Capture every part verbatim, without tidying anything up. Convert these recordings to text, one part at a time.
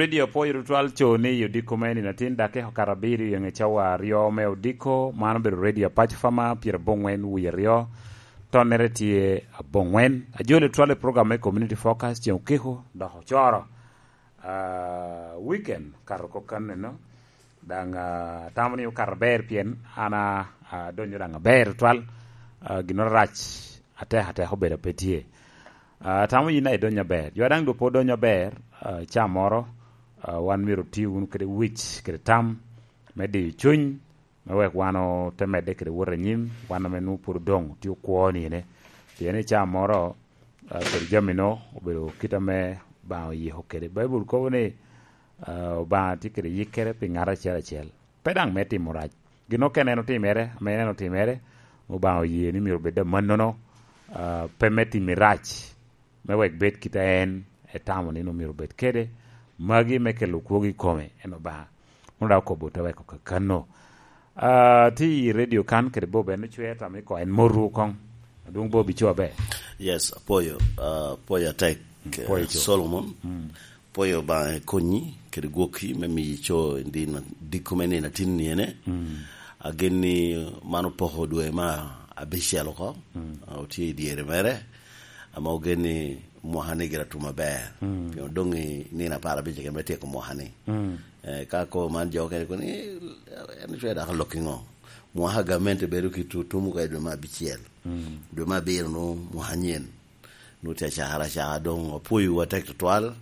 Radio Apoyo Tutwal co ni i odiko me nino atin dakika okato abiriyo i ŋe cawa aryo me odiko. Man obedo Radio Apac Fama pyerabongwen wie aryo. Tonnere tye abongwen. Ajoli otwal i program me Community Focus ceng okiko dok ocoro. Ah, weekend kato kok kan eno. Daŋ, ah, atamo ni okato aber pien an, ah, adonyo daŋ aber tutwal. Ah, ginnoro arac atek atek obedo pe tye. Ah, atamo yin a idonyo aber. Jo a daŋ dok pe odonyo aber, ah, ca moro, ah, wan myero oti wunu kede wic kede tam me diyo cuny, me wek wan ote medde kede wot anyim, wan ame nwoŋo pwod odoŋ tye okwo nine. Pien i ca moro, ah, kede jami-no obedo kit ame Obaŋa oyiko kede. Baibul kobo ni, ah, Obaŋa tye kede yikkere pi ŋat acel acel, pe daŋ me timo rac. Gin okene en otimere, ame en otimere, Obaŋa oye ni myero obed amannono, ah, pe me timo rac, me wek bed kit a en etamo ni omyero obed kede. Magi me kelo kwogo i kome, en Obaŋa. Mono daŋ okobo te weko kakano. Ah, ti i radio kan kede Bob en ocwe tam i ko en moru koŋ. Adwoŋ Bob ico aber. Yes, apoyo, ah, apoyo atek, eh, Apoyo co. Solomon. Mm. Apoyo Obaŋa ekonyi kede gwokki me miyo ico i din diko me nino atin ni ene. Mm. Agen ni man opoko dwe ma abicel oko. Mm. Ah, otye i dyere mere. Ama ogen ni mwaka ni gira tum aber. Mm. Pien odoŋ i nino apar abic keken me tyeko mwaka ni. Mm. Eh, ka ko man jo okene kono, "Eh, en ocwe dako lok iŋo?" Mwaka gamente bedo ki tu-, tum oko i dwe me abicel. Mm. Dwe me abiro nwoŋo mwaka nyen. Nwoŋo tye acakere acaka, doŋ apwoyowu atek tutwal.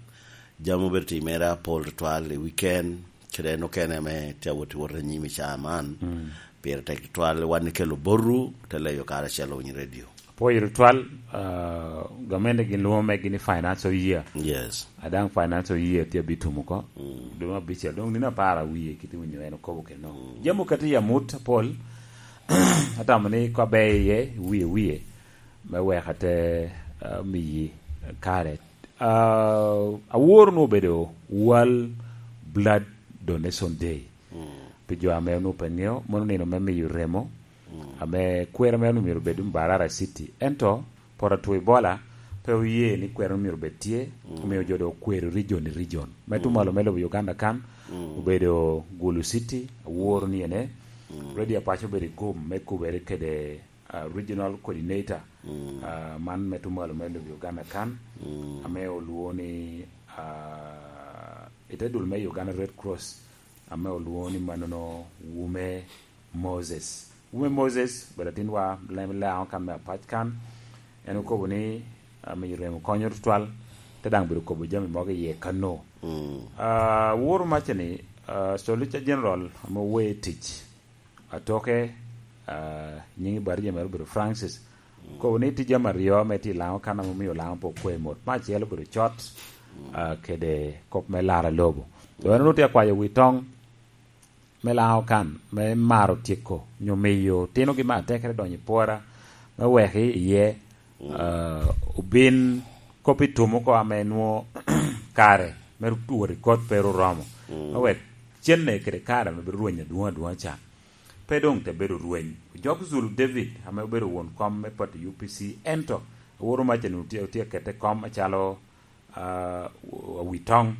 Jami obedo timere apol tutwal i weekend, kede en okene ame tye awot i wot anyim i caa man. Mm. Pire tek tutwal, wan ikelo botwu, te leyo karacel Owiny Radio. Apwoyo tutwal, ah, gamente gin lwongo megi ni financial year. Yes. A daŋ financial year tye abitumo oko. Mm. Dwe me abicel, doŋ nino apar awie kit iwinyo en okobo keno. Mm. Jami okati i amut apol, atamo ni ka ber iye, wie wie, me wek ate, ah, miyi kare. Ah, awor onwoŋo obedo World Blood Donation Day. Mm. Pi jo ame onwoŋo pe ŋeo, mano nino me miyo remo, mm, ame kwero mere onwoŋo myero obed Mbarara City. Ento, poto atwo Ebola pe oye ni kwero myero obed tye, mm, omiyo jo doŋ okwero region i region. Me, mm, tumalo me lobo Uganda kan, mm, obedo Gulu City, awor ni ene, mm, Radio Apac obedo i gum me kubere kede, ah, regional coordinator, mm, ah, man me tumalo me lobo Uganda kan, mm, ame olwongo ni, ah, i te dul me Uganda Red Cross, ame olwongo ni manono Wume Moses. Wume Moses, obedo atinwa, lem Laŋo kan me Apac kan, en okobo ni, ah, miyo remo konyo tutwal, te daŋ bedo kobo jami mogo iye kano. Mm. Ah, woro maca ni, ah, Solicitor General ame owe tic, atoke, ah, nyiŋe Barija mere obedo Francis. Mm. Kobo ni tye jami aryo ame tye i Laŋo kan ame omio Laŋo pe okwe mot. Me acel obedo cot, mm, ah, kede kop me laro lobo. Doŋ en onwoŋo tye akwayo wi toŋ me Laŋo kan, me maro tyeko, nyo miyo tinogi me atekere donyo i pwora, me wek i-, iye, mm, ah, obin kop i tum oko ame nwoŋo kare me wot i kot pe ru oromo. Mm. Me wek cenne kede kare ame bedo rweny adwoŋ adwoŋ ca, pe doŋ te bedo rweny. Ojok Zulu David, ame obedo won kom me pati U P C, ento aworo maca ni otye, otye akete kom acalo, ah, awi toŋ.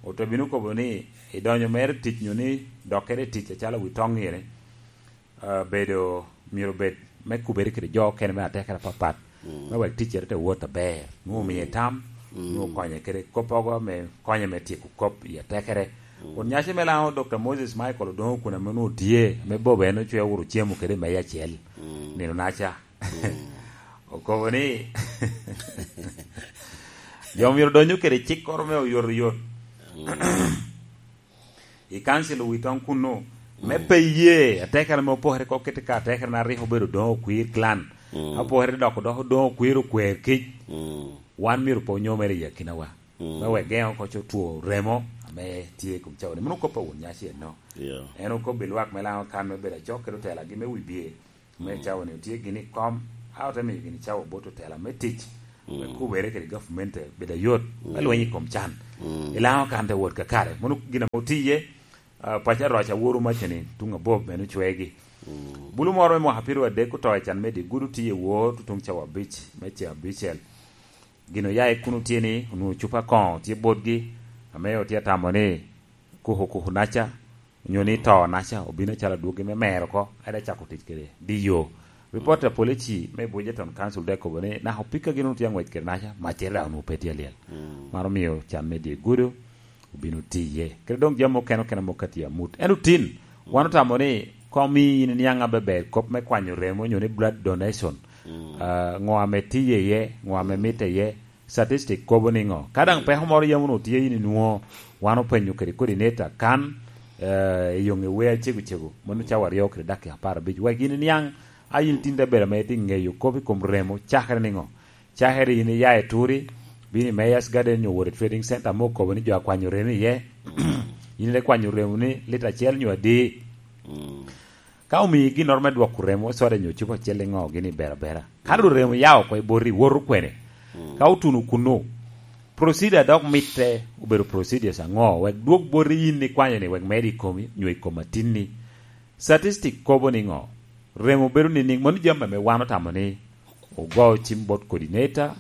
Ote bino kobo ni, i donyo mere tic nyo ni dokkere i tic acalo awi toŋ ire, ah, bedo, myero bed me kubere kede jo okene me atekere apapat, mm, me wek ticcere te wot aber. Nwoŋo omie tam, mm, nwoŋo konye kede koppogo me konye me tyeko kop i atekere. Mm. Kun nyaci me Laŋo, Doctor Moses Michael Odongo kun ame nwoŋo tye, ame Bob en ocwe owuro cemo kede i meja acel. Mm. Nino naca. Mm. Okobo ni, jo myero donyo kede cikkoro me oyotoyot. Mm. I kancil owitoŋ kunnu, me, mm, pe ye atekere ame opokere oko kite ka atekere na rik obedo Odongo Okwir clan. Mm. Opokere dok odoko Odongo Okwir okwer kic. Mm. Wan myero pe onyomere i akinawa. Mm. Me wek geŋo oko co two remo ame tye i kom cawa ni. Mano kop a won nyaci eno. Yeah. En okobbi lwak me Laŋo kan me bedo acok kede otelagi me wibye. Me, mm, cawa ni otye gini i kom, a ote miyo gini cawa bot otela me tic, me, mm, kubere kede gavumenti bedo ayot, me, mm, lweny i kom can. Mm. I Laŋo kan te wot kakare. Mano gin ame otiye, ah, paco aroc aworo maca ni tuŋ abob bene ocwegi. Mm. Bulu moro me mwaka pirwa adek oto i can me dye gudo tye i wor tutuŋ cawa abic, me ce abicel. Gin oya i kuno tye ni onwoŋo cupa koŋo tye botgi, Ame otye atamo ni kuku kuku naca, onyo ni to naca, obino acalo adwogi me mero oko, ade cako tic kede diyo. Report a polici me Bujeton Council de kobo ni naka opika gin otye ang'wec kede naca, macere daŋ onwoŋo pe tye alyel. Mano omio can me dye gudo obino tiye. Kede doŋ jami okene okene moko ka tye amut. Ento tin, wan otamo ni kom i in niaŋ abeber kop me kwanyo remo onyo ni blood donation. Ah, ŋo ame tiye iye, ŋo ame mitte iye, statistic kobo niŋo? Ka daŋ peko moro yam onwoŋo tye in inwoŋo, wan openyo kede coordinator kan, eh, i yoŋe wer cego cego, mano cawa aryo kede dakika apar abic. Wek in iniaŋ, a in tin te bedo ame itye ŋeyo kop i kom remo, cakere niŋo? Cakere in iya i Turi, bino i Mayor's Garden nyo wot i Trading Center ame okobo ni jo akwanyo remo iye. In ite kwanyo remo ni lita acel nyo adi? Ka omii ginnoro me dwoko remo, soda nyo cupa acel, iŋo gini berabera? Ka doŋ remo ya oko i boti, woto kwene? Ka otuno kunnu, procedure dok mitte obedo procedures aŋo? Wek dwog boti in ikwanyo ni wek med i komi, nyo i kom atinni. Statistic kobo niŋo? Remo bedo nining? Mano jami ame wan otamo ni ogo cim bot coordinator,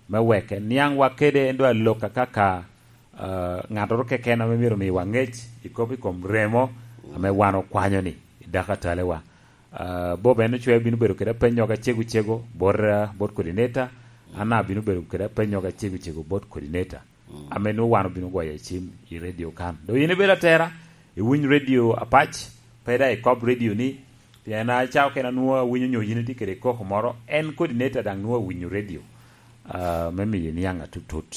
me wek eniaŋwa kede en doŋ alok akaka, ah, ŋattoro keken ame myero omiwa ŋec i kop i kom remo ame wan okwanyo-ni i dako atalewa. Ah, Bob en ocweo bino bedo kede apenyoga cego cego bot, ah, bot coordinator, an abino bedo kede apenyoga cego cego bot coordinator, ame nwoŋo wan obino goyo i cim i radio kan. Doŋ yin ibedo atera, iwiny radio apac, pe daŋ ikob radio-ni, pien aca okene anwoŋo awinyo nyo yin itye kede koko moro, en coordinator daŋ nwoŋo awinyo radio, ah, me miyo iniaŋ atutut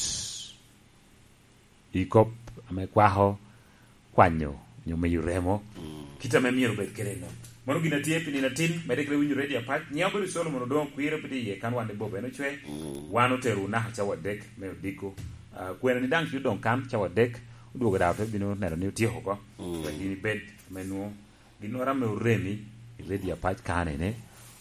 i kop ame kwako kwanyo nyo miyo remo, kit ame myero obed kede no. Mano gin atye pi nino atin, medde kede winyo radio apac. Nyiŋa obedo Solomon Odoŋo Kwir, obedo iye kan wan i Bob en ocwe. Wan otero naka cawa adek me odiko. Ah, kwena ni daŋ cuto doŋ kan cawa adek, odwogo daŋ ote bino neno ni otyeko oko. Wek gin ibed ame nwoŋo ginnoro ame oremi i radio apac kanene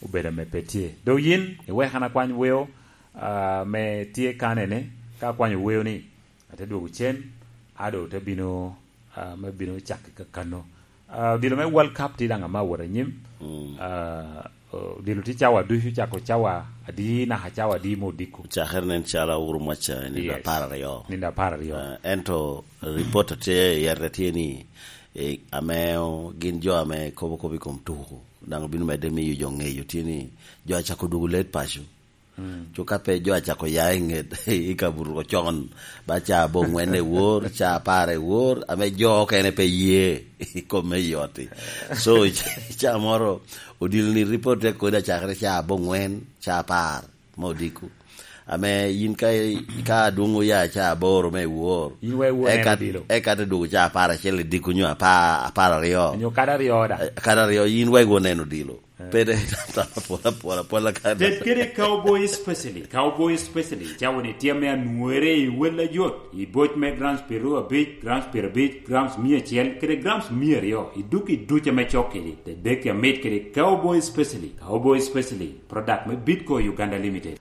obedo ame pe tye. Doŋ yin iwek an akwany weo, ah, ame tye kanene, ka akwanyo weo-ni, ate dwogo cen, a doŋ te bino, ah, me bino cakki kakano. Ah, odilo me World Cup tye daŋ ame awot anyim. Ah, odilo tye cawa ducu, cako cawa adi naka cawa adi me odiko? Cakere nen calo awuro mwaca i nino apar aryo. Nino apar aryo. Ah, ento report a tye i yete tye ni, eh, ame o-, gin jo ame kobo kop i kom tuko, daŋ obino medde miyo jo ŋeyo tye ni jo acako dwogo late paco. Cu ka pe jo acako ya i ŋet i kabuto ocon, ba ca aboŋwen i wor, ca apar i wor, ame jo okene pe ye i kome i ot-ti. So, i ca moro, odilo ni report te kodi acakere ca aboŋwen, ca apar, me odiko. Ame yin ka, ka adwoŋ oya ca aboro me i wor, in wek won en eka, odilo. Eka te dwogo ca apar acel i diko nyo apa-, apar aryo. Nyo kadi aryo da. Eh, kadi aryo, yin wek won en odilo. Pede tam apola, apola, apola ka. Ted kede Cowboy Specially. Cowboy Specially, cawa ni tye ame anwere i wel ajot, i boc me grams piero abic, grams piero abic, grams mia acel, kede grams mia aryo, i duk i duc ame cok kedi. Te dek amit kede Cowboy Specially. Cowboy Specially, product me Bitco Uganda Limited.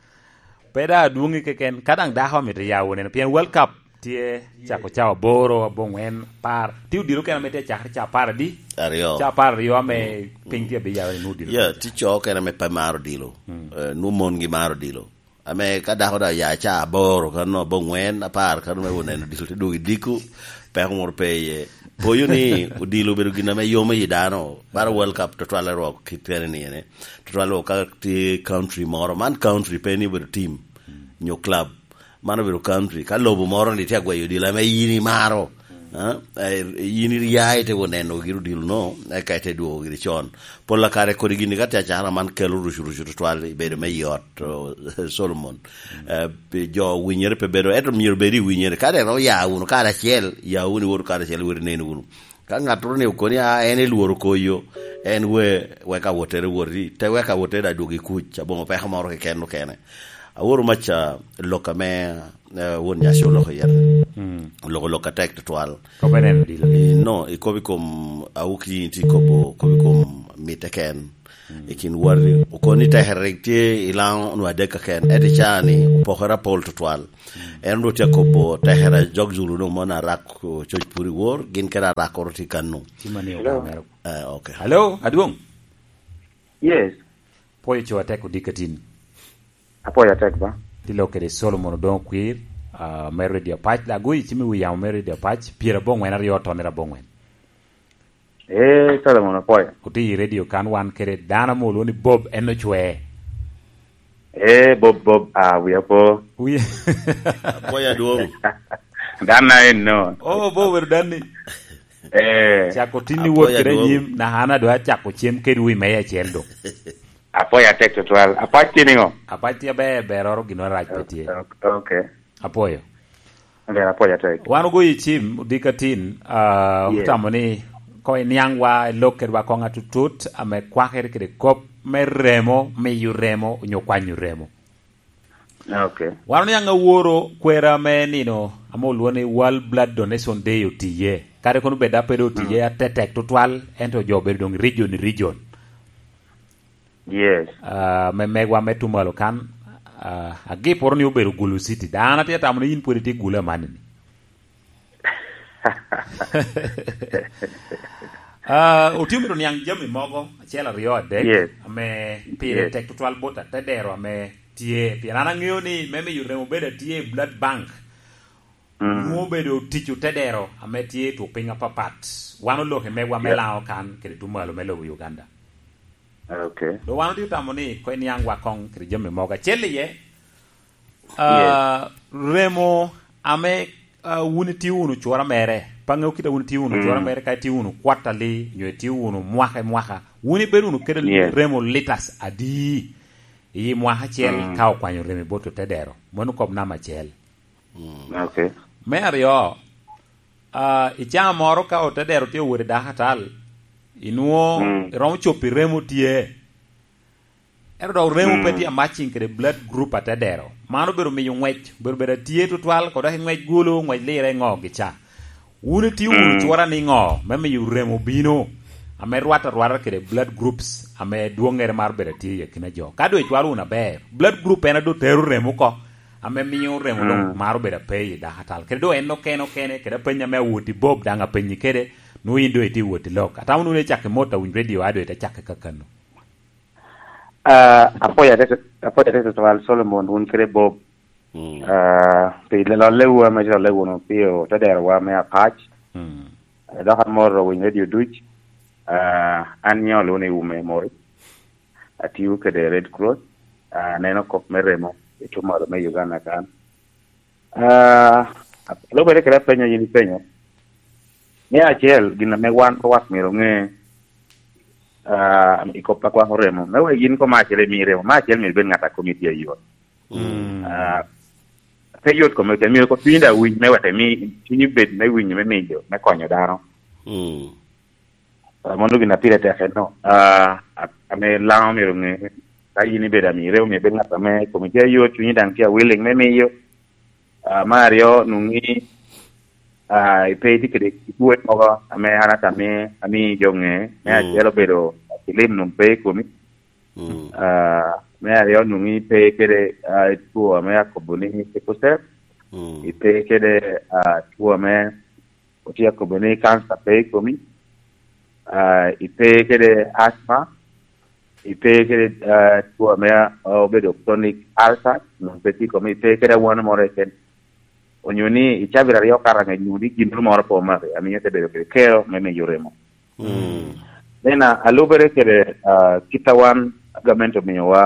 Pe daŋ adwoŋi keken, ka daŋ dako amito ya woneno, pien World Cup tye cako cawa aboro, aboŋwen, apar. Tye odilo kene ame tye cakere ca apar adi? Aryo. Ca apar aryo ame piny tye abiyawe ni odilo. Yeah, tye co kene ame pe maro odilo. Eh, nwoŋo mongi maro odilo. Ame ka dako daŋ oya ca aboro, kano aboŋwen, apar, kano me oneno odilo, te dwogo i diko, peko moro pe iye. Poyo ni odilo obedo gin ame yomo i dano. Bara World Cup tutwalle rwok kit kene ni ene. Tutwalle rwok ka tye country moro. Man country pe ni obedo team nyo club. Man obedo country. Ka lobo moro ni tye agweyo odilo ame yin imaro, ah, eh, yin iya ite oneno giri odilo no, eka ite dwogo giri con. Pol kare kodi gini ka tye acara man kelo rucu rucu tutwal i bedo me i ot, oh, Solomon. Eh, pi jo winyere pe bedo, ento myero bed i winyere. Ka deno oya wunu kare acel, ya wunu iwoto kare acel, iwot inen wunu. Ka ŋattoro ni okoni, "Ah, en elworo koyo, en we, wek awottere woti, te wek awottere adwogo i kuc, aboŋo peko moro keken okene." Aworo maca lok ame, eh, won nyaci oloko yete. Oloko lok atek tutwal. Kop en en odilo. Eh, no, ikobo i kom awuki, in tye ikobo, kobo i kom mitte ken. I kin watti, okoni tekere rik tye i Laŋo onwoŋo adek keken, ento i caa-ni opokere apol tutwal. En onwoŋo tye akobo tekere jok Zulu doŋ moni arak, oh, coc pur i wor, gin kede arakkoro tye kano. Ci mani Hello. Ogamero. Eh, okay. Hello, Adwoŋ? Yes. Pwoyo co atek odikatin. Apwoyo atek ba. Tye lok kede Solomon Odoŋo Kwir, ah, me Radio Apac, agoyo i cim i wi yamo me Radio Apac, pyerabongwen aryo otonere abongwen. Ee, Solomon, apwoyo. Otye i radio kan, wan kede dano ame olwoŋo ni Bob, en ocwe. Ee, Bob, Bob, ah, wiya po. Wi- Apwoyo adwoŋ. Dan na en no. Oh, Bob obedo dan ni. Ee. Cako tin ni Apwoyo wot kede adwoŋ. Anyim, naka an adwa cako cem kede wi meya acel do. Apwoyo atek tutwal. Apac tye niŋo? Apac tye aber, beroro gin rac pe tye. Ok, ok. Apwoyo. Ber, apwoyo atek. Wan ogoyo i cim, odika tin, ah, Yes. Otamo ni koŋ iniaŋwa, ilok kedwa koŋ atutut, ame kwakere kede kop me remo, miyo remo, onyo kwanyo remo. Ok. Wan oniaŋ aworo kwera me nino, ame olwoŋo ni World Blood Donation Day otiye. Kadi kono bed a pe doŋ otiye Mm. atetek tutwal, ento jo obedo doŋ region i region. Yes. Ah, me megwa me Tumalo kan, ah, agiporo ni obedo Gulu City. Dano atye tamo ni yin pwod itye Gulu amanni ni. Ah, otye myero niaŋ jami mogo, acel, aryo, adek, Yes. ame pire Yes. tek tutwal bot atedero ame tye. Pien an aŋeo ni me miyo remo bedo atye i blood bank, Mm. nwoŋo obedo tic otedero ame tye i two piny apapat. Wan oloke megwa me Yeah. Laŋo kan kede Tumalo me lobo Uganda. Ok. Do wan otye tamo ni koŋ iniaŋwa koŋ kede jami mogo. Acel iye, ah, Yes. Remo ame, ah, wun itio wunu cura mere, pe aŋeo kit a wun itio wunu Mm. cura mere, ka itio wunu quarterly, nyo itio wunu mwaka i mwaka, wun ibedo wunu kede Yes. remo litas adi i mwaka acel Mm. ka okwanyo remo i bot otedero? Mano kop namba acel. Mm. Ok. Me aryo, ah, i caa moro ka otedero tye owot i dakatal, inwoŋo Mm. iromo cobo i remo tye. Ento dok remo pe Mm. tye a matching kede blood group atedero. Man obedo miyo ŋwec, obedo bedo atye tutwal, kod dok i ŋwec gulu, ŋwec lire ŋo gica. Wun itio wunu Mm. cura niŋo me miyo remo bino, ame rwatte arwata kede blood groups ame dwoŋŋere maro bedo atye i akina jo? Ka doŋ icwalo wunu aber, blood group en a doŋ tero remo oko, ame miyo remo doŋ Mm. maro bedo ape i dakatal. Kede doŋ en okene okene, kede apeny ame awot i Bob daŋ apenyi kede, nwoŋo yin doŋ itye wot i lok. Atamo ni wun icako i mot a winy radio, a doŋ ite cako i kakano. Ah, apwoyo atek, apwoyo atek tutwal Solomon, wun kede Bob. Mm. Ah, pi lollewu ame ilolle wunu pi otederowa me Apac. Mm. Eh, dok amoro winy radio duc. Ah, an nyo olwoŋo ni Ume Mori. Atio kede Red Cross. Ah, aneno kop me remo i Tumalo me Uganda kan. Ah, lubere kede apenyo yin ipenyo. Me acel, gin ame wan lwak myero oŋe, ah, i kop a kwako remo. Me wek yin koŋ me acel imi remo, me acel myero ibed ŋat a komi tye ayot. Mm. Ah, pe yot kome keken, myero koŋ cunyi daŋ winyo me wek imi, cunyi bed me winyo, me miyo, me konyo dano. Mm. Ah, mano gin a pire tek eno. Ah, a-, ame Laŋo myero oŋe, ka yin ibedo amiro, myero ibed ŋat ame komi tye ayot, cunyi daŋ tye a willing me miyo. Ah, me aryo, nwoŋi, ah, ipe itye kede twol mogo ame an atamo ni ami jo ŋe. Me Mm. acel obedo kilim nwoŋo pe i komi. Mm. Ah, me aryo, nwoŋi pe kede, ah, two ame akobo ni sickle cell. Mm. Ipe kede, ah, two ame otye akobo ni cancer pe i komi. Ah, ipe kede asthma. Ipe kede, ah, two ame, ah, obedo chronic ulcer, nwoŋo pe tye i komi. Ipe kede awano moro keken. Onyo ni icabit aryo karaŋ, nwoŋo ni gin moro pe omaki, amiyo ite bedo kede kero me miyo remo. Mm. Then, ah, alubere kede, ah, kit a wan gamente omiyowa,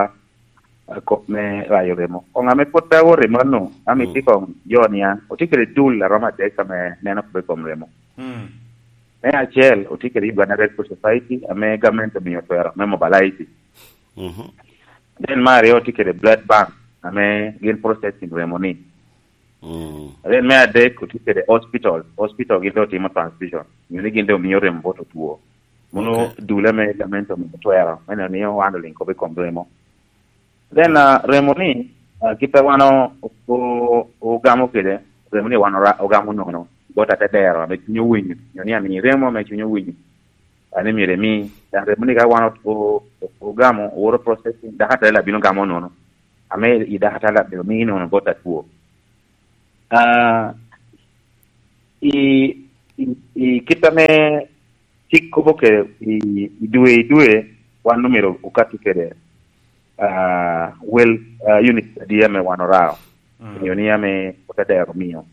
ah, kop me rayo remo. Koŋ ame pwod pe awoto i mano, ame Mm. itye koŋ jo niaŋ, otye kede tool a romo adek ame neno kop i kom remo. Mm. Me acel, otye kede Uganda Red Cross Society, ame gamente omiyo twero me mobilize. Mhm. Then me aryo, otye kede blood bank, ame gin processing remo ni. Mm. Then me adek, otye kede hospital. Hospital gin doŋ timo transfusion. Nyo ni gin doŋ miyo remo bot otwo. Mano Ok. dule me gamente omiyo twero. Me neno ni wan oliŋ kop i kom remo. Then, ah, remo ni, ah, kit a wan o-, o-, ogamo kede, remo ni wan ora-, ogamo nono. Bot atedero, ame cunye owinyo. Nyo ni ami remo ame cunye owinyo. Ane myero emi, dan remo ni ka wan o-, o-, o-, ogamo, owoto processing, dakatal abino gamo nono. Ame i dakatal abino miyi nono bot atwo. Ah, i, i, i kit ame cik kobo kede i, i dwe, i dwe, wan omyero okatti kede, ah, well, ah, unit adi ame wan orao. Mm. Onyo ni ame otadero omio.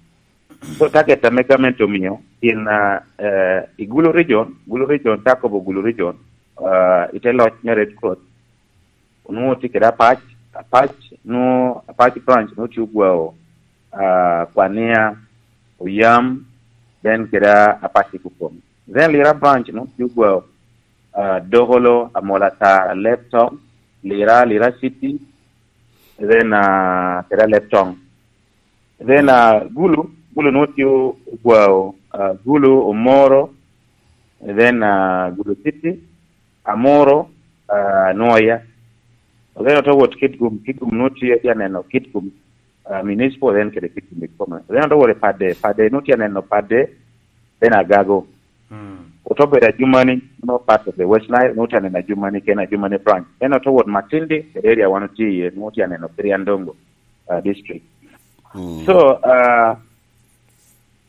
So, target ame gamente omio, in, ah, eh, i Gulu region, Gulu region, te akobo Gulu region, ah, i te loc me Red Cross, onwoŋo tye kede Apac, Apac, nwoŋo Apac branch nwoŋo tye ogwao, ah, Kwania, Oyam, then kede Apac i Kukom. Then Lira branch nwoŋo tye ogwao, ah, Dokolo, Amolatar, Leptong, Lira, Lira City, then, ah, kede Leptong. Then, ah, Gulu, Gulu nwoŋo tye ogwao, ah, Gulu, Omoro, then, ah, Gulu City, Amoro, ah, Nwoya. Then ote wot Kitgum, Kitgum nwoŋo tye, tye aneno Kitgum, ah, Municipal, then kede Kitgum i kome. Then ote wot i Padde, Padde nwoŋo tye aneno Padde, then Agago. Mm. Ote bedo Ajumani, nwoŋo part of the West Nile, nwoŋo tye aneno Ajumani, kene Ajumani branch. Then ote wot Matindi, kede area wan otye iye, nwoŋo tye aneno Kiriandongo, ah, district. Mm. So, ah,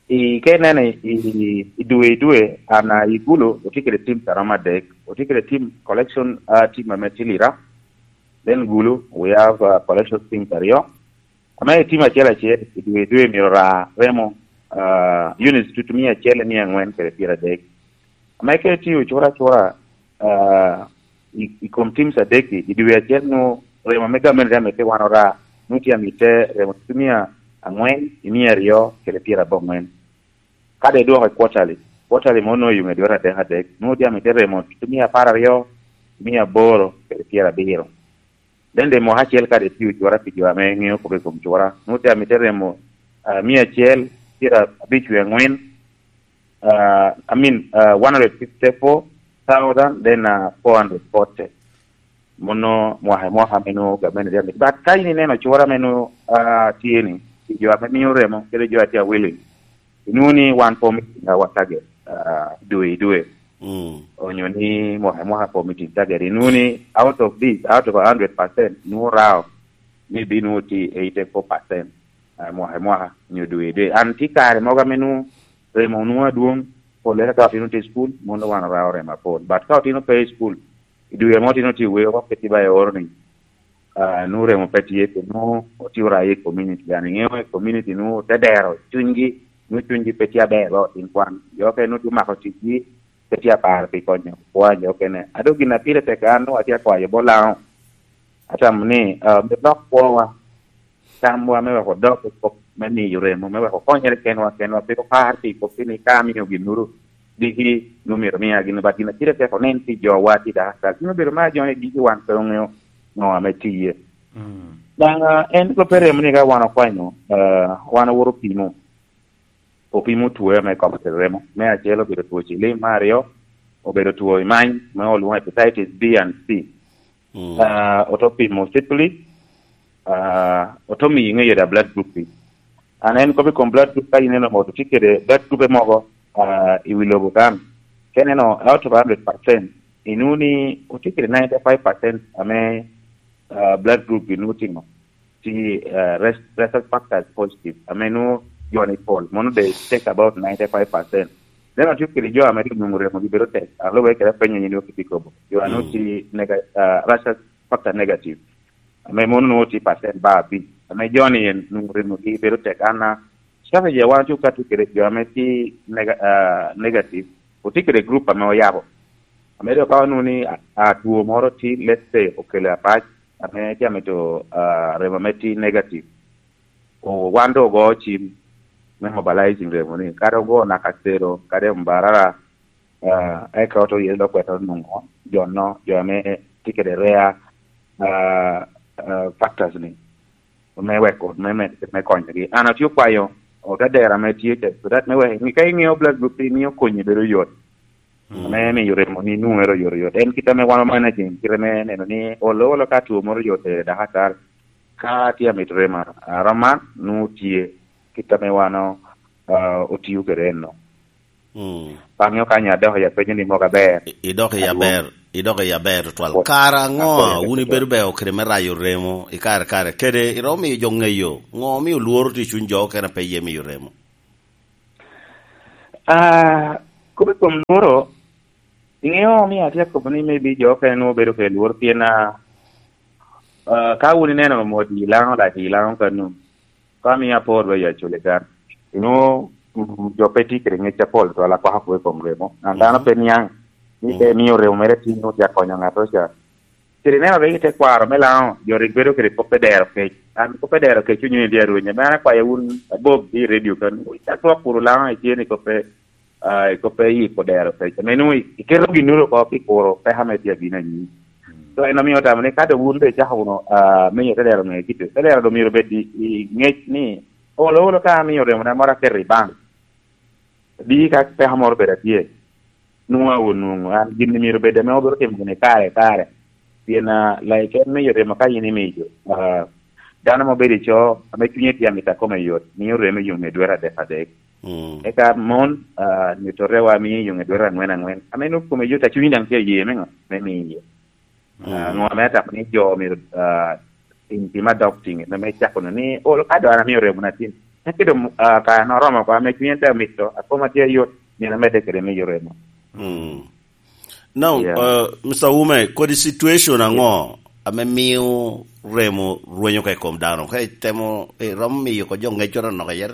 i, ka ineno i, i, i dwe, i dwe, an, ah, i Gulu, otye kede teams a romo adek. Otye kede team collection, ah, team ame tye Lira. Then Gulu, we have, ah, collection teams aryo. Ame i team acel acel, i dwe, i dwe myero ra remo, ah, units tutu mia acel i mia angwen kede pyeradek. Ame ka itye ocura acura, ah, i, i kom teams adek-ki, i dwe acel nwoŋo remo ame gamente ame pe wan ora, nwoŋo tye amitte remo tutu mia angwen i mia aryo kede pyerabongwen. Ka dok idwoko i quarterly, quarterly mo nwoŋo yuŋe dwete adek adek, nwoŋo tye amitte remo tutu mia apar aryo, mia aboro kede pyerabiro. Then the mwaka acel kadi tye ocura pi jo ame ŋeo kop i kom cura, nwoŋo tye amitte remo, ah, mia acel pyerabic wie angwen, ah, I mean, ah, one hundred fifty-four thousand, then, ah, four hundred forty. Mono mwaka i mwaka ame nwoŋo gamente tye amitte. But ka in ineno cura ame nwoŋo, ah, tye ni, pi jo ame mio remo, kede jo a tye a willing, inwoŋo ni wan pe omiting our target, ah, dwe i dwe. Mm. Onyo ni mwaka i mwaka pe omiting target. Inwoŋo ni out of this, out of a hundred percent, nwoŋo rao, maybe nwoŋo tye eighty-four percent, ah, mwaka i mwaka, onyo dwe i dwe. An tye kare mogo ame nwoŋo remo nwoŋo adwoŋ, pollere ka otino tye i cukul, mono wan orao remo apol. But ka otino pe i cukul, i dwe ame otino tye i weo, pe tye ba eoro ni, ah, nwoŋo remo pe tye, pe nwoŋo otye oraye i community. An iŋeo i community nwoŋo te dero cunygi, nwoŋo cunygi pe tye aber lo tin kwan. Jo okene nwoŋo tye omako ticgi, pe tye aparo pi konyo kwan jo okene. A dok gin a pire tek an nwoŋo atye akwayo bot Laŋo. Atamo ni, ah, myero lok kwowa, tamwa me wek odok i kop me miyo remo, me wek okonyere kenwa kenwa, pe opar pi kop ni ka amio ginnoro diki nwoŋo myero omia gin, but gin a pire tek onen pi jowa tye daka kal. Gin obedo ma jo ni diki wan pe oŋeo ŋo ame tiye. Mm. Daŋ, ah, en kop pe remo ni ka wan okwanyo, ah, wan owoto opimo, opimo two ame kobo kede remo. Me acel obedo two cilim, me aryo obedo two i many, me olwoŋo hepatitis B and C. Mm. Ah, oto pimo syphilis, ah, oto miyo iŋeyo da blood group pi. An en kop i kom blood group, ka in eno moto tye kede blood group mogo, ah, i wi lobo kan. Ka ineno out of hundred percent, inwoŋo ni otye kede ninety-five percent ame, ah, blood group gi nwoŋo timo. Tye, ah, res-, rhesus factors positive, ame nwoŋo jo ni pol, mono they take about ninety-five percent. Then otye kede jo ame rik nwoŋo remogi bedo tek, a lube kede apenyo ni nwoŋo kitye kobo. Jo a nwoŋo Mm. tye nega-, ah, rhesus factor negative, ame mono nwoŋo tye percent ba abic, ame jo ni en nwoŋo remogi bedo tek. An, ah, strategy a wan ocuk ka tye kede jo ame tye nega-, ah, negative, otye kede group ame oyabo. Ame dok ka onwoŋo ni, ah, ah, two moro tye, let's say, okelo apac, ame tye amito, ah, remo ame tye negative, o-, wan doŋ ogo cim me mobilizing remo ni, kadi ogo naka cero, kadi ombarara, ah, eka oto yelo dok kwete nwoŋo jo no, jo ame tye kede rare, ah, ah, factors ni, me weko, me, me, me konyogi. An atye okwayo otadera ame tye ca, so that me wek, ka iŋeo blood group, imiyo konyi bedo yot. Mm. Ame miyo remo ni nwoŋere oyotoyot. En kit ame wan managing, kit ame neno ni olo, olo ka two moro oyote dakatal, ka tye amito remo aroman, nwoŋo tye kit ame wan o-, ah, otio kede enno. Mm. Pe aŋeo ka nya adok i apenyo ni mogo aber. I-, idok i Adwoŋ. Aber, idok i aber tutwal. What? Kara ŋo Akoya wun kede ibedo beo kede me rayo remo i kare kare? Kede iromo miyo jo ŋeyo ŋo omio lworo tye i cuny jo okene pe ye miyo remo? Ah, kop i kom lworo, iŋeo omio atye akobo ni maybe jo okene nwoŋo bedo kede lworo pien, ah, ah, ka wun ineno mo di Laŋo, like di Laŋo kanu, Ka mio apor wa i Acholi kan, inwo, mm, jo pe tye kede ngec apol twala kwako kwo i kom remo. An dano pe niaŋ ni pe mio remo mere tin nwo tye akonyo ŋat oca. Kede neno rik i tekwaro me Laŋo, jo rik bedo kede kop me dero kec. An kop me dero kec onyo i dye arweny, ame an akwayo wun abob i redio kan, wun ca twok kuru Laŋo itye ni kop pe, ah, i kop pe yiko dero kec. Ame nwoŋo i-, iketo ginnoro oko pi kuro peko ame tye abino anyim. So, en omio otamo ni ka doŋ wun doŋ icako wunu, ah, menyo te dero ŋe kite, te dero doŋ myero obed i, i ŋec ni, olo, olo ka amio remona moro aketo i bank. Di ka peko moro bedo atye, nwoŋo onwoŋo an gin myero bed ame obiro timo gini kare, kare. Pien, ah, like en miyo remo ka in imiyo, ah, dano ma obedo i co, ame cunye tye amito akome yot, miyo remo i yo ŋe dwete adek adek. Mm. Eka mon, ah, nyuto rewa miyo i yo ŋe dwete aŋwen aŋwen. Ame nwoŋo kome yot, a cunyi daŋ tye aye me ŋo? Me miyo. Ah, ŋo ame atamo ni jo myero, ah, tim, tim adok tiŋe, me, me cako no ni, olo ka doŋ an amio remo na tin. Ento doŋ, ah, kare an oromo oko, ame cunye te mito, akoma tye ayot, myero amedde kede miyo remo. Mm. Now, yeah, uh, Mister Ume, kodi situation aŋo ame mio remo rwenyo ka i kom dano? Ka itemo, iromo miyo ko jo ŋeccoro anok iye?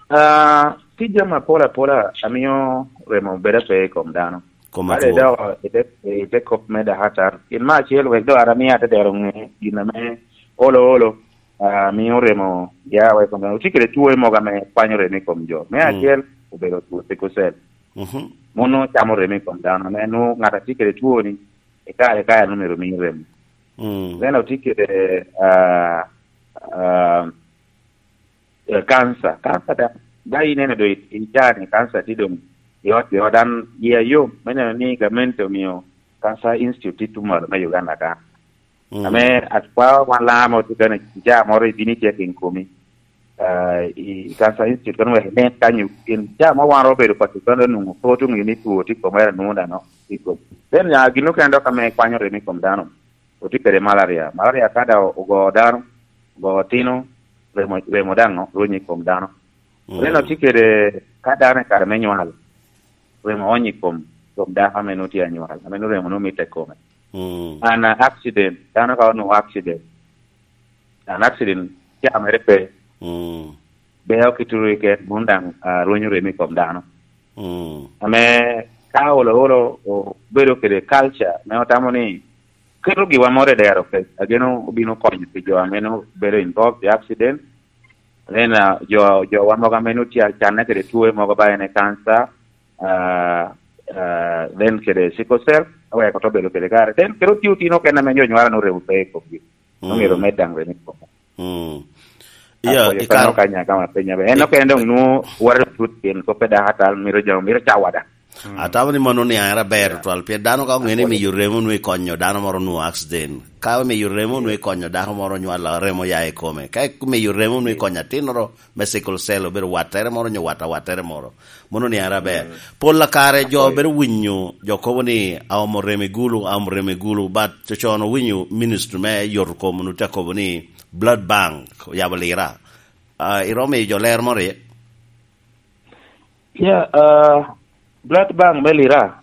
Ah, tye jami apol apola a mio remo bedo ape i kom dano. Kom atwo. Kadi dok i te, i te kop me dakatar, gin me acel wek dok an amio atedero ŋe gin ame olo olo, ah, mio remo ya wa i kom dano. Otye kede two mogo ame kwanyo remo i kom jo. Me acel obedo two sickle cell. Mhm. Mono camo remo i kom dano. Ame nwoŋo ŋat a tye kede two-ni, i kare, i kare nwoŋo myero omi remo. Mm. Then otye kede, ah, ah, eh, kanca. Kanca da, da ineno do i, i caa-ni, kanca tye doŋ i ot, i ot. An yia yom me neno ni gamente omio Cancer Institute tye tuŋ malo me Uganda ka. Mm. Ame atwa wan Laŋo ame otye kene, caa moro ibino icek in komi, ah, i, i Cancer Institute kono wek inen kanyo, pien caa mo wan ro obedo paco kono onwoŋo pe otuŋ ni two tye i kom, era nwoŋo dano tye i kom. Then, ah, gin okene dok ame kwanyo remo i kom dano, otye kede malaria. Malaria ka da ogo dano, ogo otino, remo, remo daŋ rwenyo i kom dano. Mm. Then otye kede ka dano i kare me nywal, remo onyo i kom, kom dako ame nwoŋo tye anywal, ame nwoŋo remo nwoŋo mitte i kome. Mm. An, ah, accident, dano ka onwoŋo accident, an accident caa mere pe. Mm. Beo ki turu iket, mono daŋ, ah, rwenyo remo i kom dano. Mm. Ame ka olo olo obedo kede culture me otamo ni keto giwa moro i dero kec, ageno obino konyo pi jo ame nwoŋo bedo involved i accident. Then, ah, jo, jowa mogo ame nwoŋo tye acanne kede two mogo ba en e cancer, ah, ah, then kede sickle cell, aweko to bedo kede kare. Then kede otye otino okene ame jo nywara nwoŋo remo pe i komgi. Nwoŋo myero omed daŋ remo i komgi. Mm. Yeah, i kare kano ka nya kama penya be. En okene doŋ nwoŋo waro tut pien kop pe dako atal, myero jo, myero cawa daŋ. Mm. Atamo ni mano niaŋ era ber tutwal, pien dano ka oŋeo ni miyo remo nwoŋo ikonyo dano moro nwoŋo accident. Ka miyo remo nwoŋo ikonyo dako moro nywalo remo ya i kome. Ka miyo remo nwoŋo ikonyo atinnoro me sickle cell obedo wattere moro nyo wat awattere moro. Mono niaŋ era ber. Mm. Pol a kare jo bedo winyo, jo kobo ni, "Aomo remo i gulu, aomo remo i gulu," but cocon owinyo ministry me yot kom onwoŋo tye akobo ni blood bank oyabo Lira. Ah, iromo miyo jo ler moro iye? Yeah, ah, blood bank me Lira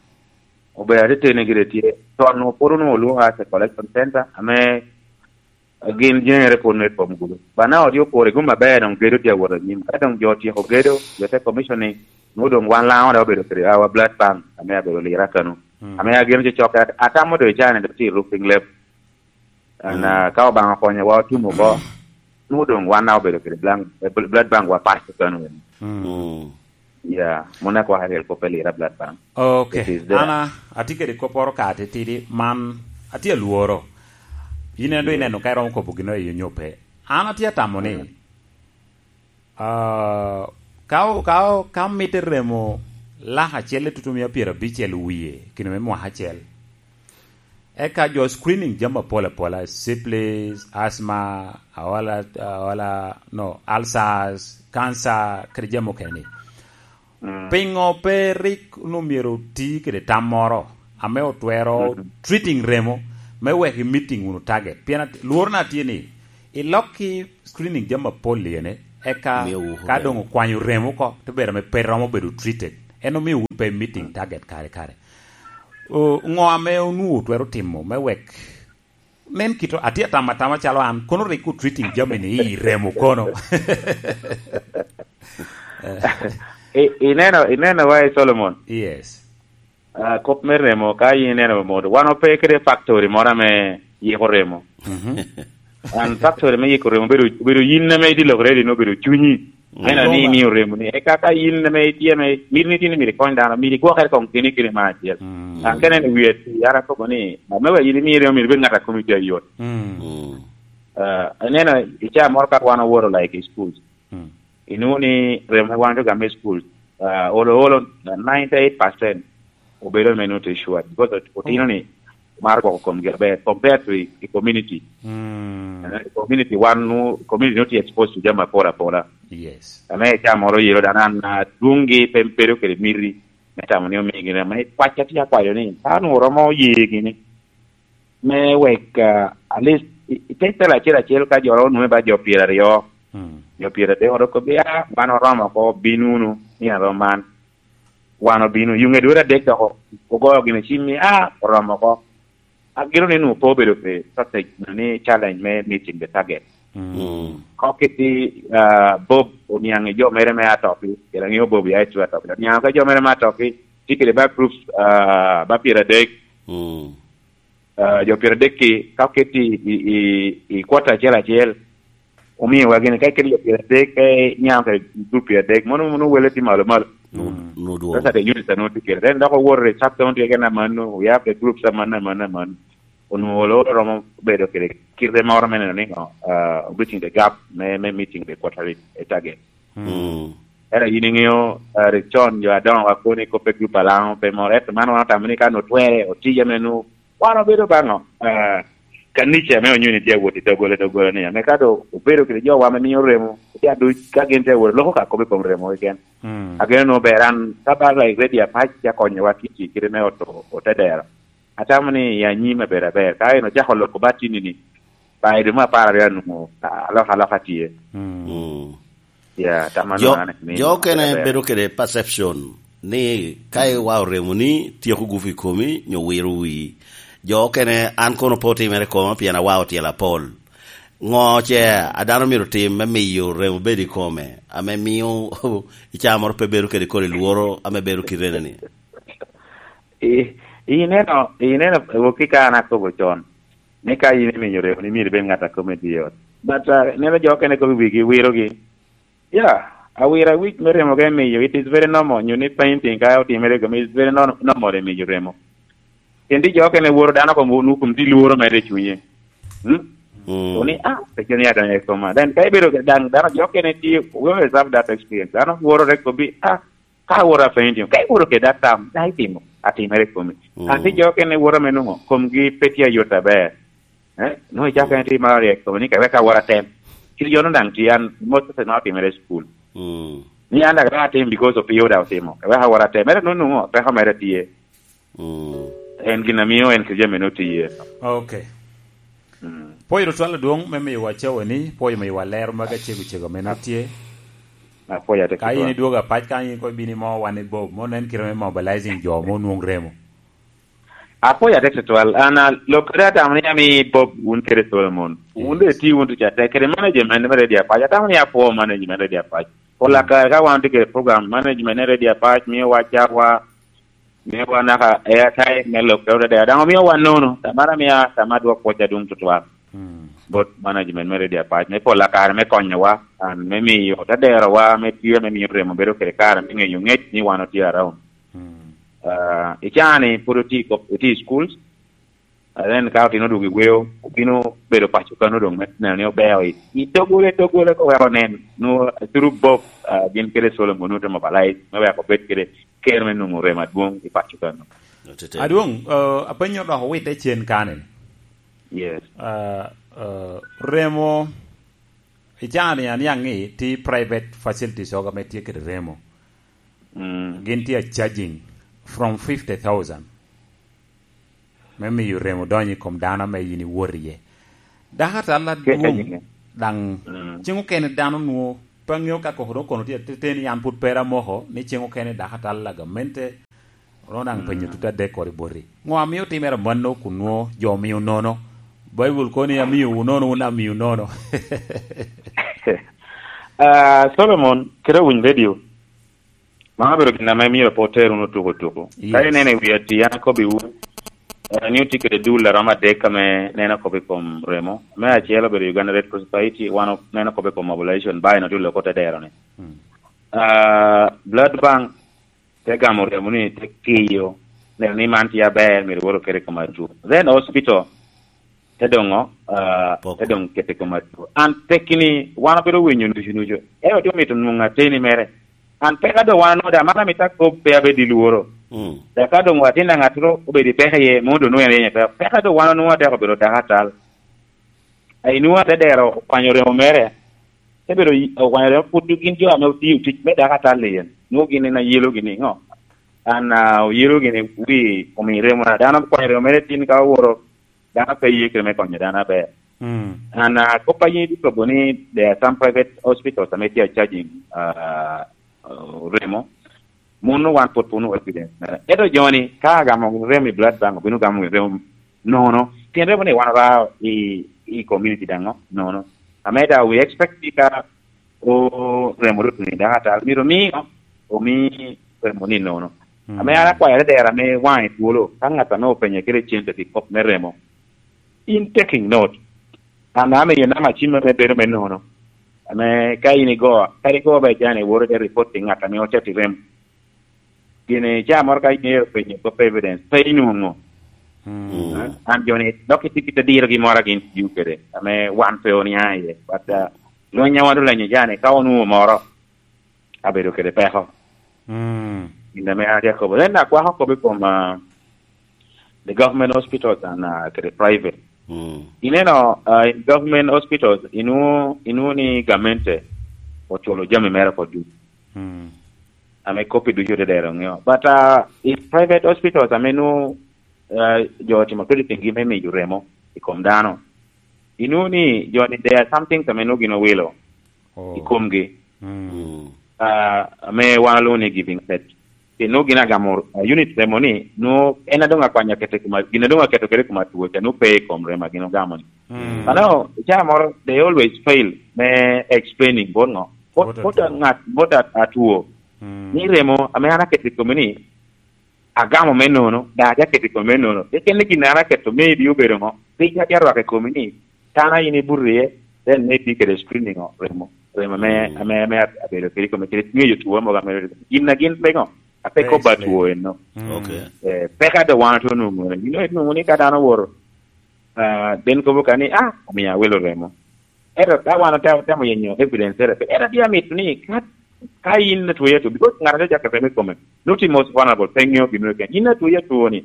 obedo ateteni gire tye. Con onwoŋo pwod onwoŋo olwoŋo as a collection center, ame gin jeŋere pwod nwoŋo i kom gudo. But now odyo kore gum aber, doŋ gedo tye awot anyim. Ka doŋ jo otyeko gedo, jo te commission ni, nwoŋo doŋ wan Laŋo daŋ obedo kede our blood bank, ame abedo Lira kano. Mm. Ame ageno cocokke, at-, atamo doŋ i caa-ni doŋ tye i roofing level. And, mm, ah, ka Obaŋa okonyowa otum oko, nwoŋo doŋ wan daŋ obedo kede blank, eh, bl-, blood bank wa paco kano eni. Mm. Mm. Yeah, mono akwako aryel kop me Lira blood bank. Okay. It is there. An a-, atye kede kopporo ka titidi man, atye alworo. In en doŋ, mm, ineno ka iromo kobo gino i onyo pe. An atye atamo ni, mm, ah, ka o-, ka o-, ka mitte remo lak acel i tutumia pyerabicel wie, kino me mwaka acel. Eka jo screening jami apol apola, syphilis, asthma, aola, aola, no, ulcers, cancer, kede jami okene ni. Mm. Pingo pe rik onwoŋo myero oti kede tam moro ame otwero, mhm, treating remo me wek i meeting wunu target? Pien at-, lworona tye ni, ilok ki screening jami apol iyene, eka ka doŋ okwanyo remo oko, te bedo ame pe romo bedo treated. En omio wun pe meeting target kare kare. O, ŋo ame onwoŋo twero timo me wek Nen kito, atye atamo atama calo an, kono rik otreating jami ni i remo kono. I- ineno ineno wa i Solomon. Yes. Ah, kop me remo ka in ineno modo wan ope kede factory moro ame yiko remo. Mhm. An factory me yiko remo obedo obedo yin ame idilokere dino obedo cunyi. Meno ni imiyo remo ni eka ka in ame itye ame miti ni tin imito ikony dano, miti igwokere kong keni kede me acel. Mm. An kene ni wiye ti ara kobo ni, "Ma me wa in imiyo remo miti bed ng'at a komi tye ayot." Mm. Mm. Ah, ineno i caa moro ka wan owoto like i schools. Mm. Inwoŋo ni remo me wan otuga me school, ah, olo olo, ninety eight percent obedo me nutrition because ot- otino ni maro gwoko komgi aber compared to i, i community. Mm. Eh, community wan nu community not exposed to jami apol apola. Yes. Ame caa moro yelo dan an adwongi pe bedo kede miti me tamo ni omigi na me kwac atye akwayo ni ka nu romo ye gini me wek, ah, at least i i pecel acel acel ka jo ro onwoŋe ba jo pyeraryo, mm, jo pyeraryo oro kobbi, "Ah, wan oromo oko, bin wunu nino rom man." Wan obino, yuŋe dwero adek dok ogoyo gini cim ni, "Ah, oromo oko." Agino ni nwoŋo pe obedo pe shortage ni challenge me meeting the target. Mm. Mm. Kok kiti, ah, Bob oniaŋ i jo mere me atoki, kede aŋeo Bob ya i Atop. Oniaŋ ka jo mere me atoki, tye kede ba groups, ah, ba pyeradek. Mm. Ah, jo pyeradek-ki, ka oket i, i, i, i kwota acel acel, omiowa gini, ka iketo jo pyeradek, ka inyamo kede group pyeradek, mono, mono wele tye malo malo. Nu-, mm, nu dwong. Sasa de units a nwoŋo tye kede. Then dok owoto i sub county keken amanno, we have the groups amanno, amanno, amanno. Onwoŋo olo romo bedo kede kite moro me neno ni, ah, bridging the gap me, me meeting the quarterly target. Mm. Mm. Ento yin iŋeo, ah, rik con jo adoŋo wa koni kop pe group alaŋo pe moro, ento man wan otamo ni ka nwoŋo twere, otija me nwoŋo wan obedo baŋo, ah, kanica me onyuni tye awot i doggola, doggola ni, ame ka do obedo kede jo wa me miyo remo, tye aduc ka gin tye awot, loko ka kop i kom remo keken. Mm. Ageno nwoŋo ber an, ka ba like ready apac, tye akonyowa kiti kite me oto, ote dero. Atamo ni i anyim aber aber, ka en ocako loko batini ni, ba i dwe me apar aryo anwoŋo, ah, alokaloka tye. Mm. Mm. Ya, tama jo, nwana ni jo okene aber. Bedo kede perception ni ka iwa oremo ni tyeko gupu i komi, nyo wiro wii. Jo okene, "An kono pe otimere koma pien awa otyelo apol." Ŋo ce a dano myero tim me miyo remo bedo i kome, ame mio i caa moro pe bedo kede kodi lworo ame bedo kite ni? I, ineno, ineno, wok ki ka an akobo con, ni ka in imiyo remo, ni myero ibed ŋat a kome tye ot. But, uh, ineno jo okene kobo wigi, wirogi. Yeah, awira wic me remo ka imiyo, it is very normal. Nyo ni painting ka otimere kome, it's very nor-, normal imiyo remo. Pien tye jo okene woro dano komo nu kun tye lworo mere i cunye. Hmm? Mm. Oni, "Ah, pe joni adonyo i koma." Then ka ibedo kede dano, dano jo okene tye, we always have that experience. Dano woro rek kobi, "Ah, ka aworo a painting, ka iworo kede atam, dai timo, atimere i komi." Mm. Ati jo okene woro me nwoŋo, komgi pe tye ayot aber. Eh, nwoŋo icako en tye maro ryek kome ni ka wek awot atem. Kit yo-nu daŋ tye an, most of the ma otimere i cukul. Mm. Ni an daŋ daŋ atim because of pio daŋ otimo. Ka wek awot atem. Mere nwoŋo nwoŋo peko mere tye. Mm. En gin a mio en kede jami-nu tye. Ok. Mm. Pwoyo tutwal adwoŋ me miyowa cawa ni, pwoyo miyowa lero magi acego cego ame nwoŋo tye. Apwoyo ate tutwal. Ka in idwogo apac, ka in kono ibino imo wan i Bob, mo nen kite me mobilizing jo mo nwoŋ remo. Apwoyo atek tutwal. An a, lok kede atamo ni ami Bob wun kede Solomon. Wun doŋ itye wun tuca tek kede management me Radio Apac. Atamo ni apwoo management Radio Apac. Pol akare ka wan tye kede program, management me Radio Apac miowa cawa, miowa naka airtime me lok kede odede. Daŋ omiowa nono. Tamara mia, tama dwok pwoc adwoŋ tutwal. Mm. Bot management me Radio Apac, me pol akare me konyowa, an me miyo te derowa, me tye me miyo remo bedo kede kare me ŋeyo ŋec ni wan otye around. Mm. Ah, i caa-ni pwod otye i kop-, otye i schools. And then ka otino odwogo i weo, obino bedo paco kano doŋ me neno ni obeo i, i doggola, doggola ka weko onen. Nwoŋo through Bob, ah, gin kede Solomon nwoŋo te mobilize me weko obed kede ker me nwoŋo remo adwoŋ i paco kano. Adwoŋ, ah, apenyo dok owitte cen kane. Yes. Ah, ah, remo, i caa-ni aniaŋ ni tye private facilities oga ame tye kede remo. Mm. Gin tye a charging from fifty thousand me miyo remo donyo i kom dano ame yin iwot iye. Dako atal adwoŋ daŋ, mm, cen okene dano nwoŋo pe aŋeo ka koko doŋ kono tye atete ni an pwod pe amoko ni cen okene dako atal a gamente. Onwoŋo daŋ penyo tut adek kodi boti. Ŋo amio timere amanno kun nwoŋo jo omio nono? Baibul kono ni, "Amiyowu nono, wun amiyo nono." Ah, Solomon, kede Winy Radio, man obedo gin ame myero pe oter wunu tuko tuko. Yes. Ka ineno i wi ati, an akobbiwu, eh, ni otye kede dul a romo adek ame neno kop i kom remo. Me acel obedo Uganda Red Cross Society, wan o-, neno kop i kom mobilization, ba en otye loko te dero ni. Mm. Ah, Blood Bank te gamo remo ni te kiyo, neno ni man tye aber, myero woro kede i kom atwo. Then hospital, te doŋ, ah, Poko. Te doŋ kete i kom atwo. An pekki ni wan obedo winyo nucu nucu. Ento tye omito nwoŋo ateni mere. An peka doŋ wan onwoŋo daŋ, man amito akob pe abed i lworo. Mm. Dok ka doŋ atin daŋ ŋattoro obedo i peko iye, mom doŋ nwoŋo en yenyo peko. Peka doŋ wan onwoŋo atek obedo dako atal. A inwoŋo ate dero okwanyo remo mere, te bedo yi-, okwanyo remo pwod gin jo ame otiyo tic me dako atal i en. Nwoŋo gin en ayelogi ni, ŋo? An, ah, oyelogi ni wi omi remo na. Dano okwanyo remo mere tin ka oworo, dano pe ye kede me konyo dano aber. Mm. An, ah, kop a yin ikobo ni there are some private hospitals ame tye a charging, ah, ah, remo. Mano wan pwod pe onwoŋo evidence mere. Ento joni, ka agamo remo i blood bank, obino gamo remo nono. Pien remo ni wan oba i, i community daŋ nono. Ame da, we expect ni ka o remo rutto ni dako atal, myero omi, omi remo ni nono. Mm. Ame an akwayo adera ame waŋe twolo, ka ŋat ame openye kede cente pi kop me remo, in taking note. An amiyo namba cim ame bedo me nono. Ame ka in igo, kadi igo ba ijane, woro ite report pi ŋat ame ocato i remo. Gin ca moro ka imito penyo kop evidence, pe inwoŋo. Mm. An joni, dok itye kit adirogi moro a gin tio kede, ame wan pe oniaŋ iye. But, uh, lweny a wan olenyo jani, ka onwoŋo moro, abedo kede peko. Mm. Gin ame an atye akobo. Then akwako kop i kom, uh, the government hospitals and, uh, kede private. Mm. Ineno, uh, in government hospitals, inwoŋo, inwoŋo ni gamente oculo jami mere oko ducu. Mm. Ame kop i ducu te dero ŋeo. But, uh, in private hospitals ame nwoŋo, uh, jo otimo crediting gi me miyo remo i kom dano, inwoŋo ni jo ni there are some things ame nwoŋo gin owilo. Oh. I komgi. Mm. Mm. Ah, ame wan olwoŋo ni giving set. Pien nwoŋo gin agamo, ah, unit remo ni, nwoŋo en a doŋ akwanyo aketo i koma, gin a doŋ aketo kede i koma two ca, nwoŋo pe i kom remo a gin ogamo ni. Mm. Ano, i caa moro, they always fail me explaining bot ŋo. Bot, bot ŋat, bot at-, atwo. Mm. Ni remo, ame an aketo i kome ni, agamo me nono, daŋ atye aketo i kome me nono. Keken ni gin an aketo maybe obedo ŋo, piny atye arwako i kome ni, tana in ibuto iye, then maybe kede screening o, remo, remo ame, mm, ame, ame abedo kede i kome, kede ŋeyo two mogo ame, gin a gin pe ŋo, ape kobo atwo eno. Mm. Okay. Eh, peka do wan otye onwoŋo, you know, inwoŋo ni ka dano owoto, ah, then kobo ka ni, "Ah, omio awilo remo." Ento ka wan otemo, temo yenyo evidence ere, ento tye amito ni ka, ka in atwoyi atwo, because ŋat a tye acako remo i kome, not the most vulnerable, pe ŋeo gin meno keken. In atwoyi atwo ni,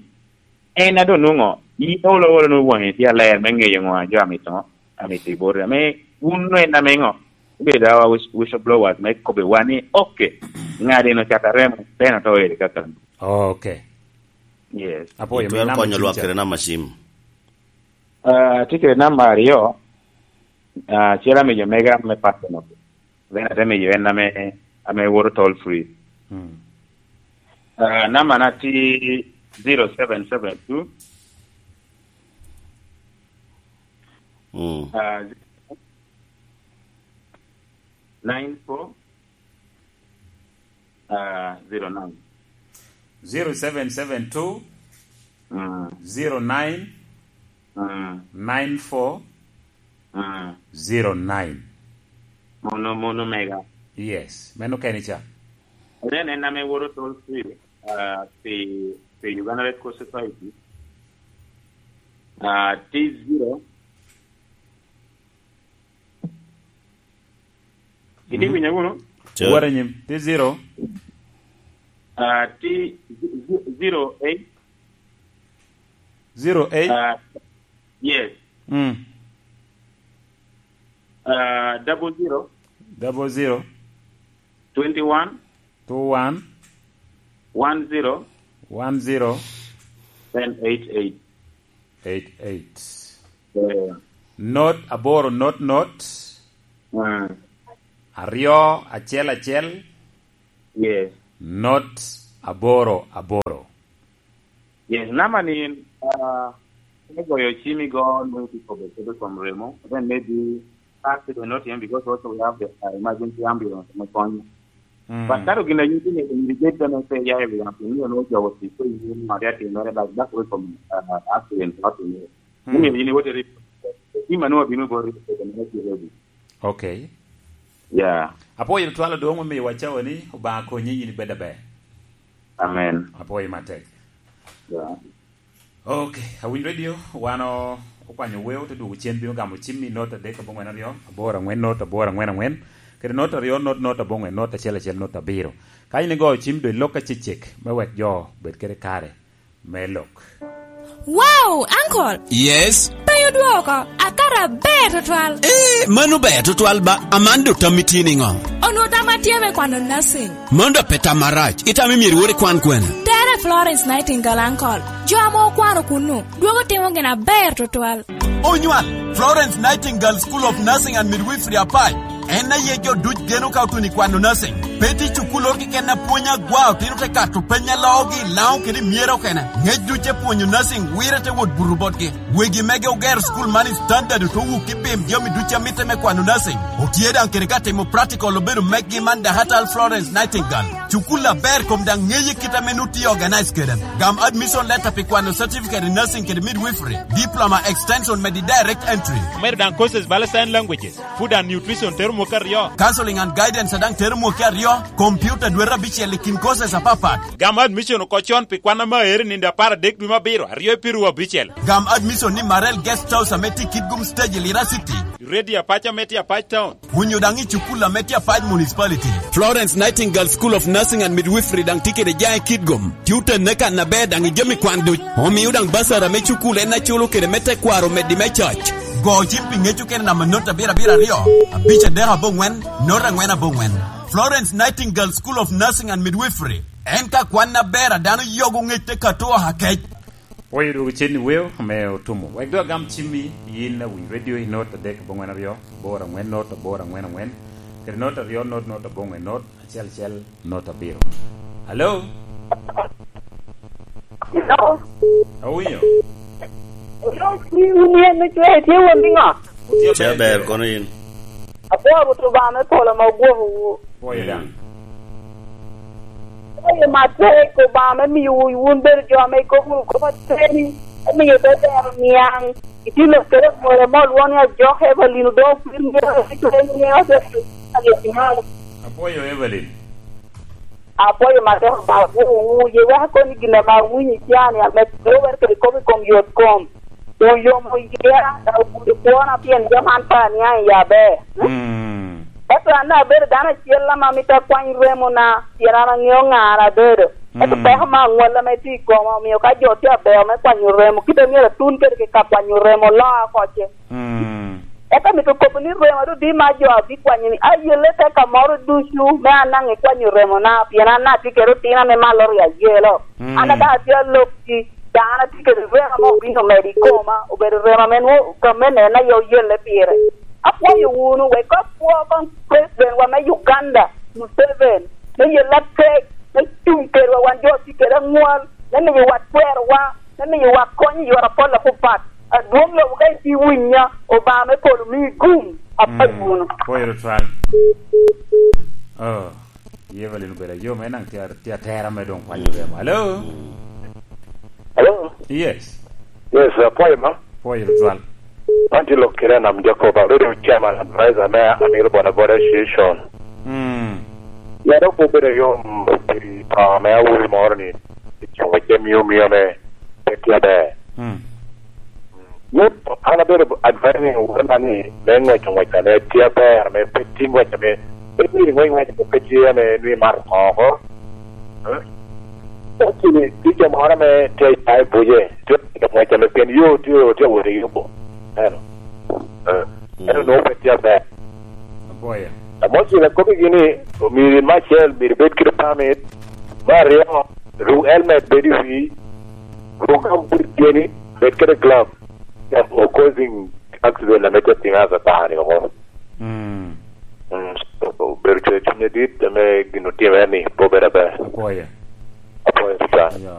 en a doŋ nwoŋo, in olo olo nwoŋo waŋi tye aler me ŋeyo ŋo a jo amito ŋo, amito i boti. Ame wun en ame ŋo, ibedo a whistle-, whistleblowers me kobbiwa ni, "Okay, ŋat eno ocato remo, then oto ere kaka." Okay. Yes. Apwoyo, mi itwero namba konyo lwak kede namba cim. Ah, tye kede namba aryo, ah, acel amiyo mega me personal. Then ate miyo en ame, ame woto toll free. Mm. Ah, namba na tye zero seven seven two. Mm. Ah, nine four. Ah, zero nine. Zero seven seven two, mm, zero nine, mm, nine four, mm, zero nine. Mono, mono mega. Yes, meno keni ca. Then en ame woto toll free, ah, pi, pi Uganda Red Cross Society. Ah, T zero. Itye winyo wunu? Sure. Wot anyim. Tye zero. Ah, tye z-, z-, zero eight. Zero eight? Ah, yes. Mm. Ah, double zero. Double zero. Twenty one. Two one. One zero. One zero. Then eight eight. Eight eight. Eh. Not aboro, not, not. Mm. Aryo, acel, acel. Yes. Not aboro, aboro. Yes, namba ni, ah, Me goyo cim igo, nwoŋo itye kobbe kede kom remo, then maybe accident not him because also we have the uh, emergency ambulance me konyo. Mm. But kato gin a yuti ni in the gate then say ya we have to know no job to say you ma ya tin mere like that way from uh, accident not him. Mm. Ni ni wote ri. Ima no bino go ri ko na ki ready. Okay. Yeah. Apoyo twalo doŋ omiyo wacawa ni Obaŋa konyi yin ibed aber. Amen. Apoyo matek. Yeah. Ok, awinyo redio, wan o- okwanyo weo, te dwogo cen bino gamo cim i not adek aboŋwen aryo, aboro aŋwen not aboro aŋwen aŋwen, kede not aryo not not aboŋwen not acel acel not abiro. Ka in igoyo cim do ilok acecek me wek jo bed kede kare me lok. Wow, uncle! Yes? Pe odwoko, akato aber tutwal. Eh, mano ber tutwal ba, aman do tammi tye niŋo? Onwo tamma tye me kwano nursing. Mano da pe tam marac. Itamo myero iwor ikwan kwene? Tere Florence Nightingale, uncle. Jo ame okwano kunnu, dwogo timo gin aber tutwal. Onywal, Florence Nightingale School of Nursing and Midwifery Apac. En aye jo duc geno ka otuni kwano nursing. Pe tye cukul oro keken apwonya gwa otino te kato peny alogi i Laŋo kede i myero okene. Ngec duc te pwonyo nursing wire te wot buto botgi. Wegi mege ogero school man i standard oto wuk i bim jami duc a mitte me kwano nursing. Otye daŋ kede ka timo practical obedo meggi man Dahatal Florence Nightingale. Cukul aber kom daŋ ŋeye kit ame nu tye organize kede. Gam admission letter pi kwano certificate in nursing kede midwifery, diploma extension medi direct entry. Omedo daŋ courses bala sign languages, food and nutrition tero mwaka aryo. Counseling and guidance daŋ tero mwaka aryo, computer dwete abicel i kin courses apapat. Gam admission oko con pi kwan ame aero i nino apar adek dwe me abiro, aryo i piru abicel. Gam admission ni Marel Guest House ame tye Kitgum Stage i Lira City. Ready apac ame tye Apac Town. Onyo daŋ i cukul ame tye Apac Municipality. Florence Nightingale School of Nursing and Midwifery daŋ tye kede jaŋ i Kitgum. Tye otenne kan aber daŋ i jami kwan duc. Omio daŋ basara me cukul en aculo kede me tekwaro meddi me cac. Go cim pi ŋec okene namba not abiro abiro aryo, abic adek aboŋwen, not angwen aboŋwen. Florence Nightingale School of Nursing and Midwifery. En ka kwan aber a dano yogo ŋec te kato oha kec. Pwoyo dwogo cen i weo ame otumo. Wek dok agam cimmi, yin awiny redio i not adek aboŋwen aryo, aboro angwen not aboro angwen angwen, kede not aryo not not aboŋwen not acel acel not abiro. Alo? Hello? Awinyo? Hello, ni wun yen me cwe, tye won niŋo? Tye aber kono yin. Apwoo Rwot Obaŋa me polo ame ogwokowu. Pwoyo daŋ. Pwoyo matek Obaŋa me miyowu wun bedo jo ame ikobo wunu kop ateni, me miyo te tero niaŋ. Itye lok kede amwora mo olwoŋo ni Ajok Evelyn, odoŋo kwir myero icwe nyiŋe ote. Apwoyo Evelyn. Apwoyo matek Obaŋa, apwoyowu. Ye wek akoni gin ame awinyo i can-ni, ame lubere kede kop i kom yot kom. Oyomo yia, ogudo kwona pien jami an pe aniaŋ iye aber. Mm. Ento an abedo dano acel ame amito akwany remona, pien an aŋeo ŋa an abedo. Ento Mm. peko me aŋwal ame tye i koma omio ka jo tye aber me kwanyo remo, kite myero atun kede ka kwanyo remo, loa oko ce. Mm. Ento amito kobo ni remo adudi ma jo abikwanyo ni ayelle te ka moro ducu me an daŋ ikwanyo remona, pien an daŋ atye kede otino ame malo oryo ayelo. Mm. An daŋ atye alokki, daŋ an atye kede remo ame obino medo i koma, obedo remo ame nwoŋo gamente en aye oyelle pire. Apwoyo wunu, wek apwo koŋ President wa me Uganda, Museveni, me yelle atek, me cuŋ kedwa wan jo tye kede aŋwal, me miyowa twerowa, me miyowa kony i yore apol apapat. Adwoŋ lobo ka itye winya, Obaŋa me polo mii gum, apayo wunu. Pwoyo tutwal. Oh, Evelyn obedo ayom, en daŋ tye, tye atera me doŋ kwanyo remo. Hello? Hello? Yes. Yes, apwoyo ma. Pwoyo tutwal. Man tye lok kede Anam Jacob, abedo chairman advisor me Amiro Boda Boda Association. Mm. Ya dok obedo ayom pi pa me awobi moro ni, i coŋ wacce mio mio me pe tye aber. Mm. Ni, an abedo advising wona ni me ŋweco ŋwec ame tye aber, ame pe tye ŋwec ame, pe myero iŋwec ŋwec ame pe tye ame nwi mato oko oko. Eh? Kacini ticca moro ame tye i buce, tye ka ŋwec ame pien yo tye, tye wot i yubo. Eno. Eh, eno nwoŋo pe tye aber. Aboya. Amo cil akobbigi ni, omyero in me acel, myero ibed kede pamit. Me aryo, ru helmet bed i wii. Ru gambut tyeni, bed kede glove. Of causing accident ame te tiŋa asa tani omo. Mm. Mm, obedo cwer cuny adit, ame gin otimere ni pe obedo aber. Apwoyo. Apwoyo tutwal. Ayo,